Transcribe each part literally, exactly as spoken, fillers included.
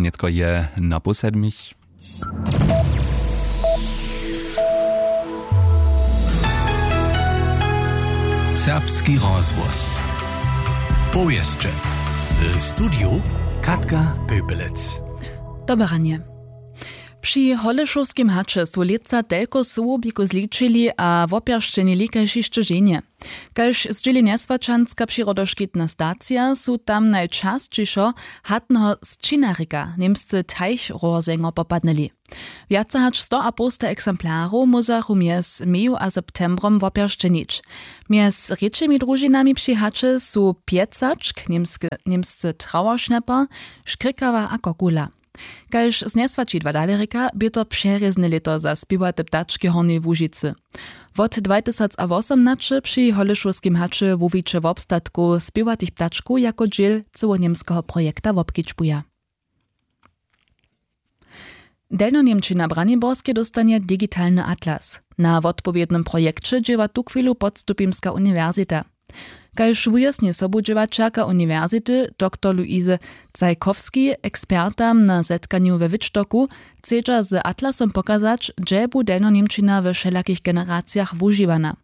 Nětko je na pół sedmich. Serbski rozhłos. Powěsće. W studiju Katka Pepelec. Dobre ranje. Při Holešowskim haće su lětsa telko sołowbikow zličili a wopjeršćenili kaž hišće ženje. Kaž zdźěli njeswaćanska přirodoškitna stacija, su tam najčasćišo hatneho sćinarika, němscy Teichrohrsänger, popadnyli. Wjace hač sto a połsta eksemplarow móžachu mjez meju a septembrom wopjeršćenić. Mjez rěčimi družinami při haće su pjecačk, němske, němsce Trauerschnäpper, škrikawa a kokula. Kaž z njeswaćidła dale rěka, bě to přerězne lěto za spěwate ptački w Hornjej Łužicy. Wot dwatysacawosomnaće při Holešowskim haće wuwiće wobstatkow spěwatych ptačkow jako dźěl cełoněmskeho projekta wobkedźbuja. Delnjoněmčina w Braniborskej dóstanje digitalny atlas. Na wotpowědnym projekće dźěła tuchwilu Podstupimska uniwersita. Kaž wujasni sobudźěłaćerka uniwersity, doktor Luise Cajkowski, ekspertam na zetkanju we Wittstocku chcedźa z atlasom pokazać, hdźe bu delnjoněmčina we wšelakich generacijach wužiwana.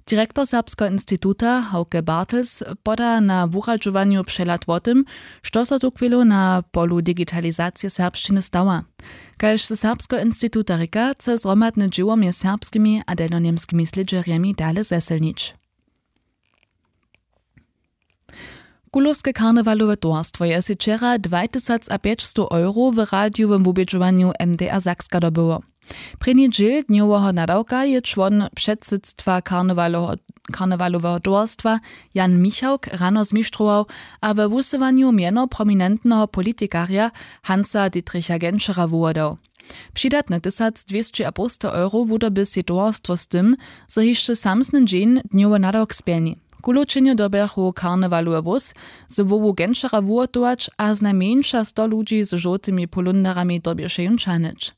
Direktor Serbskeho instituta Hauke Bartels poda na wuradźowanju přehlad wo tym, što so tuchwilu na polu digitalizacije serbšćiny stawa. Kaž ze Serbskeho instituta rěka, chce zhromadne dźěło mjez serbskimi a delnjoněmskimi slědźerjemi dale zesylnić. Kulowske karnewalowe towarstwo je sej wčera dwatysacapjećstow euro w radijowym wubědźowanju M D R Sakska dobyło. Prěni dźěl dnjoweho nadawka je čłon předsydstwa karnewaloho-, karnewaloweho towarstwa Jan Michałk rano zmištrował a we wusyłanju mjeno prominentneho politikarja Hansa Dietricha Genschera wuhłodał. Přidatne tysacdwěsćiapołsta euro wudoby sej towarstwo z tym, zo hišće samsny dźeń dnjowy nadawk spjelni. Kulow-čenjo dyrbjachu karnewalowy wóz z hłowu Genschera wuhotować a znajmjeńša sto ludźi z žołtymi polundarami dyrbješe jón ćahnyć.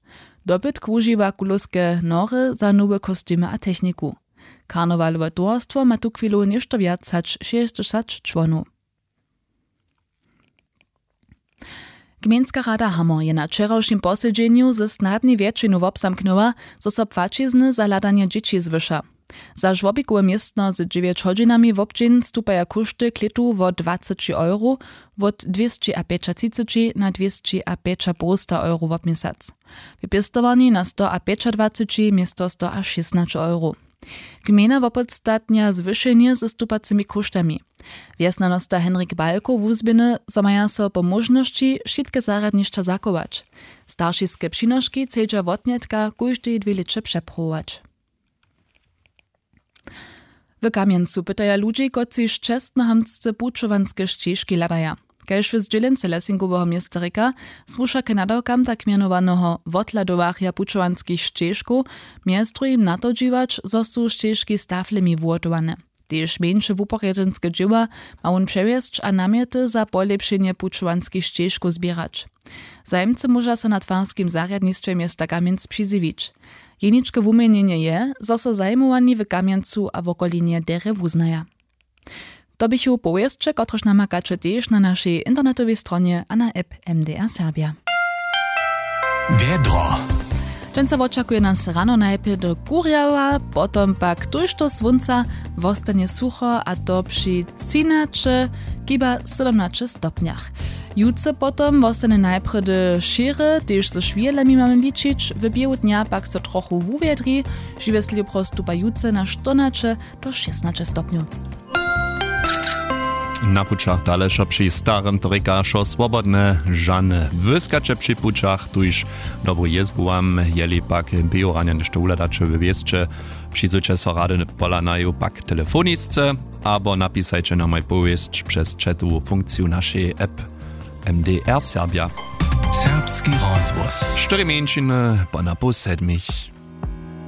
Dobytk wužiwa Kulowske nory za nowe kostymy a techniku. Karnewalowe towarstwo ma tuchwilu něšto wjac hač šěsćdźesać čłonow. Gmejnska rada Hamor je na wčerawšim posedźenju ze snadnej wjetšinu wobzamknyła, zo so płaćizny za hladanje dźěći zwyša. Za žłobikowe městno z dźewjeć hodźinami wobdźeń stupaja kóšty klětu wo dwaceći euro, wot dwěsćiapjećatřiceći na dwěsćiapjećapołsta euro wobměsac. W pěstowarni na stoapjećadwaceći město stoašěsnaće euro. Gmejna wopodstatnja zwyšenje ze stupacymi kóštami. Wjesnjanosta Henrik Balko wuzběhny, zo maja so po móžnosći wšitke zarjadnišća zachować. Staršiske přinoški chcedźa wotnětka kóždej dwě lěće přepruwować. W Kamjencu pytaja ludźi, kotřiž čestnohamtsce pućowanske šćežki hladaja. Kaž w zdźělence Lessingoweho města rěka, słuša k nadawkam tak mjenowaneho wothladowarja pućowanskich šćežkow mjez druhim na to dźiwać, zo su šćežki z taflemi wuhotowane. Tež mjeńše wuporjedźenske dźěła ma wón přewjesć a namjety za polěpšenje pućowanskich šćežkow zběrać. Zajimcy móža so na twarskim zarjadnistwje města Kamjenc přizjewić. Jeničke wuměnjenje je, zo so zajimowani w Kamjencu a wokolinje derje wuznaja. To běchu powěsće, kotrež namakaće tež na našej internetowej stronje a na app M D R Serbja. Wjedro. Dźensa wočakuje nas rano najprjedy kurjała, potom pak tójšto słónca, wostanje sucho, a to při třinaće, chiba sydomnaće stopnjach. Jutře potom wostanje najprjedy šěry, tež ze šwěhlemi mamy ličić, w běhu dnja pak so trochu wuwjedri, žiwje slěpro stupa jutře na štyrnaće do šěsnaće stopnjow. Na pućach dale wšo při starym, to rěka wšo swobodne, žane włyskaće při pućach, tuž dobru jězbu wam, jeli pak běhu ranja něšto wuhladaće we wěsće, přizujće so rady pola naju pak telefonisce abo napisajće nam aj powěsć přez chatowu funkciju našej app M D R Serbja. Serbski rozhłos. Štyri mjeńšiny po na pół sedmich.